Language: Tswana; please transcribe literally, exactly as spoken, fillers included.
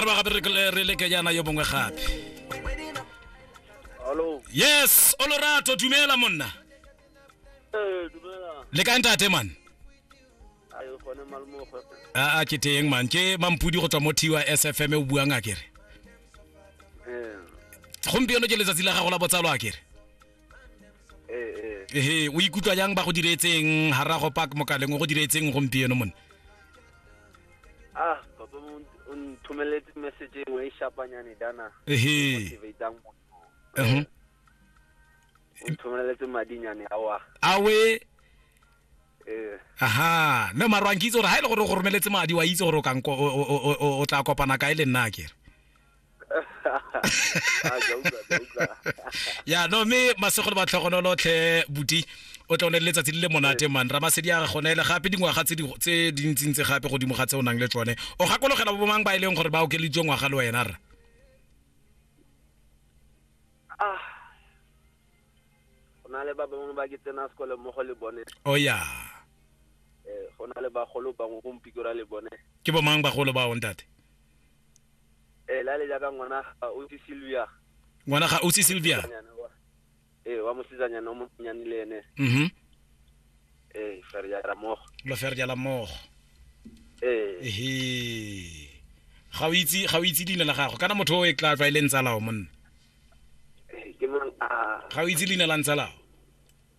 re ba gape re re leke jaana yo mongwe gape. Hello. Yes, Olorato, dumela monna. Eh, dumela. Le kae ntate man? Ayo gone malmogo. A a ke teng man, ke Mampudi go tswa mo T Y S F M o buang a kere. Eh. Gompieno ke letsatsi la gago la botsalo a kere. Eh eh. Ehe, o ikutlwa jang ba go diretseng Harago Park mokaleng o go diretseng gompieno monna? Ah, papa o nthomeletse message engwe e shapanyane dana. Ehe. Motivatang motho. Mhm. O nthomeletse madinyane awa. Awe. Eh. Aha, mme mara wa nkitse gore ha ile gore o go romeletse madi wa itse gore o ka o o tla kopana kae le nna akere. Ah, ke utlwa, ke utlwa. Ya no me masego le batlhogonolo tlhe buti o tla o ne le letsatsi le le monate man Ramasedi a gone le gape dingwaga tse di tse dintsintsi gape godimo ga tse o nang le tsone o gakologela bo mang ba e leng gore ba okeleditswe ngwaga le wena rra? Ah. Go na le ba bangwe ba ke tsena sekolo mmogo le bone. Oh ya. Eh, go na le bagolo bangwe gompikora le bone. Ke bo mang bagolo ba o ntate? Eh, la le jaaka ngwana ga Ausi Sylvia. Ngwana ga Ausi Sylvia? Eh, wa mosetsanyana o monnyane le ene. Mhm. Eh, fer jala mmogo. Lo fer jala mmogo. Eh. Ehe. Ga o itse, ga o itse leina la gago kana motho o e tla tlwaeleng tsalao monna. Eh, ke mang a? Ga o itse leina la ntsalao?